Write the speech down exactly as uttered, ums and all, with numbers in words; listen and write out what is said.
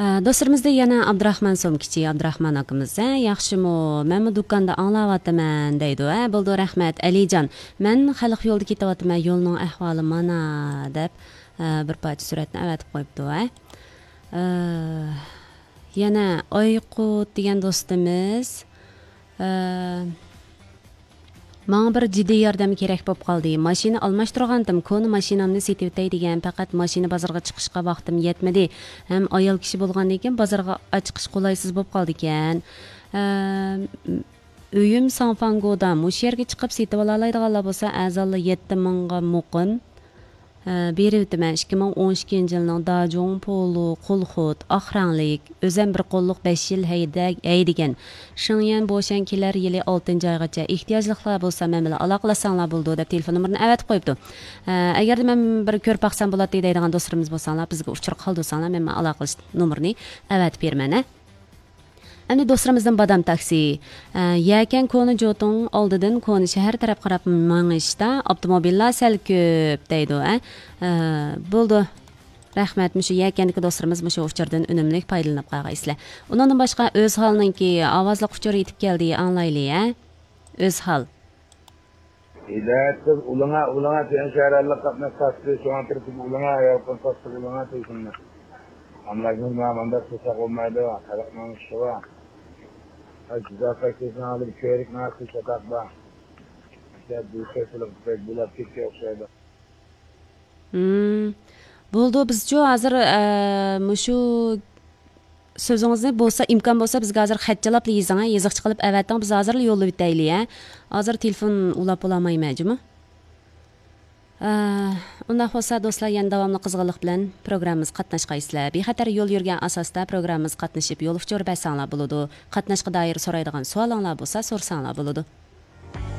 ئە، دوستلىرىمىزدا يەنە ئابدۇراخمان سومكىچى، ئابدۇراخمان ئاكىمىز، ھە، ياخشىمۇ؟ مەنمۇ دۇكاندا ئاڭلاۋاتىمەن، دەيدۇ. ھە، بولىدۇ، رەھمەت، ئەلىجان. مەن خەلق يولىدا كېتىۋاتىمەن، يولنىڭ ئەھۋالى مانا، دەپ، ئە، بىر پارچە سۈرەتنى ئەۋەتىپ قويۇپتۇ، ھە. ئە، يەنە ئايقۇت دېگەن دوستىمىز، ئە، ماڭا بىر جىددىي ياردەم كېرەك بولۇپ قالدى. ماشىنا ئالماشتۇرغانتىم، كونا ماشىنامنى سېتىۋېتەي دېگەن، پەقەت ماشىنا بازىرىغا چىقىشقا ۋاقتىم يەتمىدى. ھەم ئايال كىشى بولغاندىن كېيىن بازارغا ئاچىقىش قولايسىز بولۇپ قالىدىكەن. ئە، ئۆيۈم ساڭفاڭگودا، مۇشۇ يەرگە چىقىپ سېتىۋالالايدىغانلار بولسا، ئەرزانلا يەتتە مىڭغا مۇقىم. ھە، بېرىۋېتىمەن. ئىككى مىڭ ئون ئىككىنچى يىلنىڭ داجۇڭ پولو قول خۇت، ئاق رەڭلىك، ئۆزەم بىر قوللۇق بەش يىل ھەيدە-، ھەيدىگەن. شېڭيەن بوشەن كېلەر يىلى ئالتىنچى ئايغىچە. ئېھتىياجلىقلار بولسا مەن بىلەن ئالاقىلەشسەڭلار بولىدۇ، دەپ تېلېفون نومۇرىنى ئەۋەتىپ قويۇپتۇ. ھە، ئەگەردە مەن بىر كۆرۈپ باقسام بولاتتى دەيدىغان دوستلىرىمىز بولساڭلار، بىزگە ئۇچۇر قالدۇرساڭلار، مەن، مەن ئالاقىلىشىش نومۇرىنى ئەۋەتىپ بېرىمەن، ھە. ئەمدى دوستلىرىمىزدىن بادام تاكسى. ئە، يەكەن كونا جوتۇڭ ئالدىدىن كونا شەھەر تەرەپ قاراپ مېڭىشتا ئاپتوموبىللار سەل كۆپ دەيدۇ، ئە. ئە، بولىدۇ. رەھمەت، مۇشۇ يەكەندىكى دوستلىرىمىز مۇشۇ ئۇچۇردىن ئۈنۈملۈك پايدىلىنىپ قالغايسىلەر. ئۇنىڭدىن باشقا ئۆزھالنىڭكى ئاۋازلىق ئۇچۇر يېتىپ كەلدى، ئاڭلايلى، ئە. ئۆزھال. ھىدايەت قىز ئۇلىڭا، ئۇلىڭا تۆن شەھەرلىك قاتناش تاپتى، شۇڭا تىرتىپ ئۇلىڭا، ئايال قىز تاپتى ئۇلىڭا تۇيسۇننى. ئاملاكنىڭ مانداق قىلساق بولمايدۇ، خەلقنىڭ ئىشى بار. جىددىي قايتىسىنى ئالىپ كۆرۈك ناقىش چاتاق بار. بۇ كەسىلىك بەك بۇلاپ كەتكەن ئوخشايدۇ. ھىم. بولىدۇ، بىزچۇ ھازىر، ئە، مۇشۇ سۆزىڭىزنى بولسا، ئىمكان بولسا، بىزگە ھازىر خەتچىلاپلا يېزىڭ، ھە، يېزىقچە قىلىپ ئەۋەتىڭ، بىز ھازىرلا يوللىۋېتەيلى، ھە. ھازىر تېلېفون ئۇلاپ بولالمايمەن جۇمۇ. ئە، ئۇنداق بولسا، دوستلار، يەنە داۋاملىق قىزغىنلىق بىلەن پروگراممىمىزغا قاتناشقايسىلەر. بىخەتەر يول يۈرگەن ئاساستا پروگراممىمىزغا قاتنىشىپ، يول ئۇچۇر بەرسەڭلار بولىدۇ. قاتناشقا دائىر سورايدىغان سوئالىڭلار بولسا، سورىساڭلار بولىدۇ.